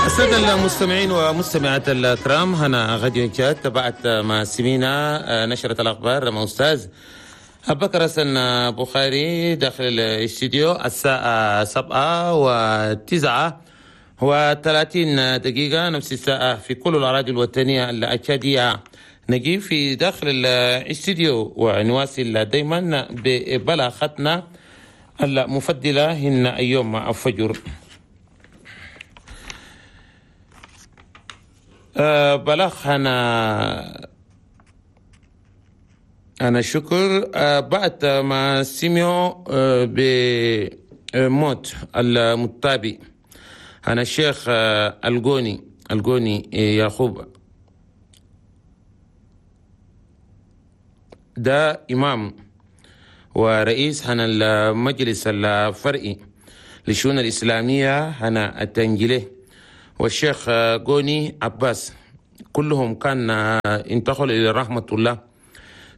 السادة المستمعين ومستمعات الكرام، هنا غاديو تشاد تبعت مع سمينا نشرة الأخبار مع أستاذ أبو بكر حسن بخاري داخل الاستديو. الساعة 7:39، نفس الساعة في كل الأراضي الوطنية الأكادية. نجي في داخل الاستديو ونواصل دايما ببلاغتنا المفضلة هن يوم الفجر. بلاغ أنا شكر بعد ما سمعوا بموت المتابي أنا الشيخ الجوني يعقوب، ده إمام ورئيس هنا المجلس الفرعي للشؤون الإسلامية هنا التنجلي، والشيخ جوني عباس، كلهم كان انتقلوا إلى رحمة الله.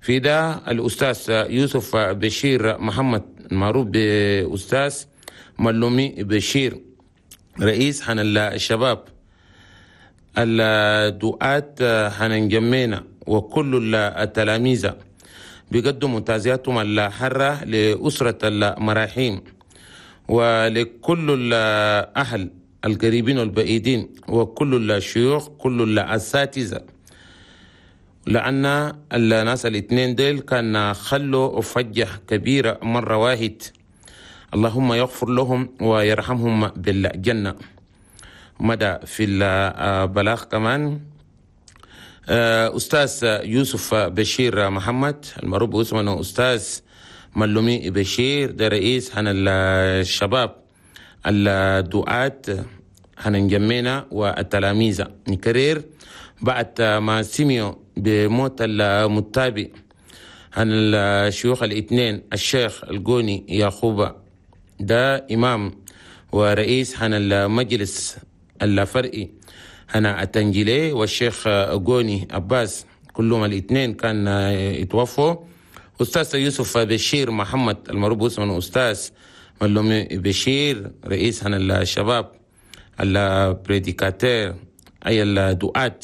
في ده الأستاذ يوسف بشير محمد المعروف بأستاذ ملومي بشير، رئيس حن الشباب الدعاة حن جمينا، وكل التلاميذ بيقدموا تعزياتهم الحارة لأسرة المراحيم ولكل الأهل القريبين والبعيدين وكل الشيوخ كل الأساتذة، لأن الناس الاثنين ديل كان خلوا فجة كبيرة مرة واحد. اللهم يغفر لهم ويرحمهم بالجنة. مدى في البلاغ كمان أستاذ يوسف بشير محمد المعروف باسمه أستاذ ملومي بشير، ده رئيس عن الشباب الدعاة هنجمينا والتلاميذ. نكرر بعد ما سمعوا بموت المتابع عن الشيوخ الاثنين الشيخ الجوني يعقوب، ده إمام ورئيس عن المجلس الفرعي هنا التنجيلي، والشيخ جوني عباس، كلهم الاثنين كان يتوفوا. أستاذ يوسف بشير محمد المعروف باسمه أستاذ ملومي بشير، رئيس عن الشباب ال prédicateurs أي الدعاة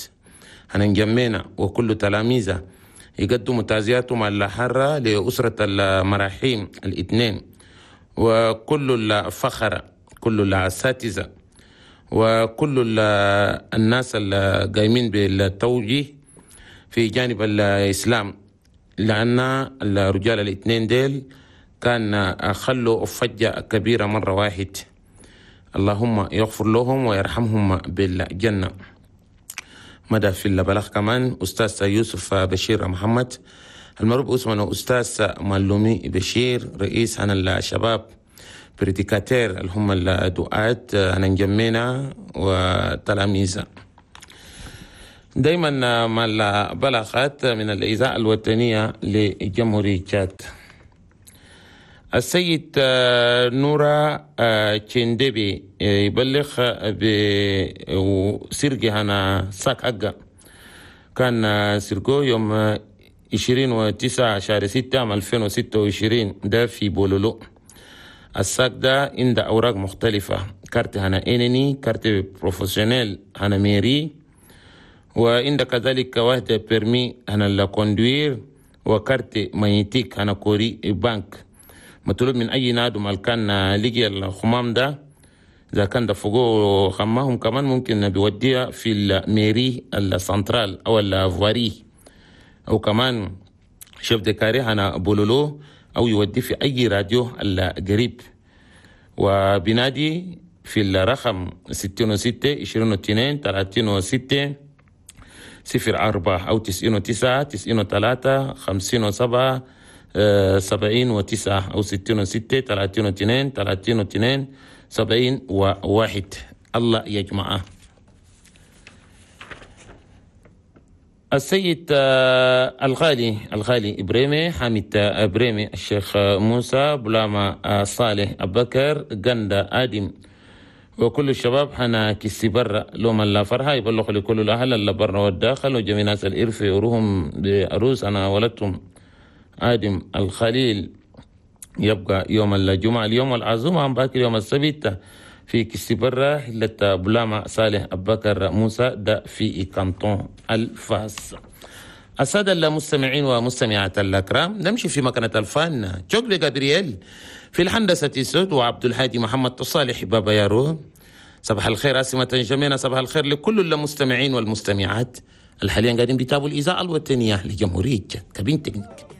هنجمينا وكل تلاميذه، يقدموا تعزياتهم الحارة لأسرة المراحيم الاثنين وكل الفخرة كل الأساتذة وكل الناس القايمين بالتوجيه في جانب الإسلام، لأن الرجال الاثنين ديل كان خلوا فجة كبيرة مرة واحد. اللهم يغفر لهم ويرحمهم بالجنة. مدى في البلاغ كمان أستاذ يوسف بشير محمد المعروف اسمه أستاذ ملومي بشير، رئيس عن الشباب prédicateurs اللي هم الدعاة هنجمينا وتلاميذ. دايما مع البلاغات من الإذاعة الوطنية لجمهورية تشاد. السيد نورا تشندبي يبلغ بسرقة هنا sac حقه، كان سرقه يوم 29 شهر 6 عام 2026، ده في بولولو. ال sac ده عنده أوراق مختلفة، كارت هنا إنني، carte professionnelle هنا mairie، وعنده كذلك واحدة permis هنا la conduire، و carte magnétique هنا Coris Bank. مطلوب من أي نادم كان لقي الخمام ده، إذا كان دفقوه خماهم كمان ممكن بيوديها في ال mairie ال centrale أو ال voirie، أو كمان chef de carré هنا بولولو، أو يودي في أي راديو القريب. وبنادي في الرقم 66 22 36 04 أو 99 93 57 79 أو 66 32 32 71. الله يجمعه. السيد الغالي إبريمي حامد إبريمي، الشيخ موسى بلاما صالح أبكر جندا آدم، وكل الشباب حنا كسي برا لوم الله فرحة يبلغ لكل الأهل اللي برا والداخل وجميع ناس الإرف يروهم بعروس أنا ولدتهم آدم الخليل. يبقى يوم الجمعة اليوم والعزومة عم باكر يوم السبت في كسيبرة حلة بلاما صالح أبكر موسى ده في كانتون الفاس. السادة المستمعين ومستمعات الأكرام، نمشي في مكنة الفن شكري جابرييل في الهندسة الصوت وعبد الهادي محمد صالح بابا يارو. صباح الخير عاصمة جميلة، صباح الخير لكل المستمعين والمستمعات الحاليا قاعدين بيتابعوا الإذاعة الوطنية لجمهورية cabine technique.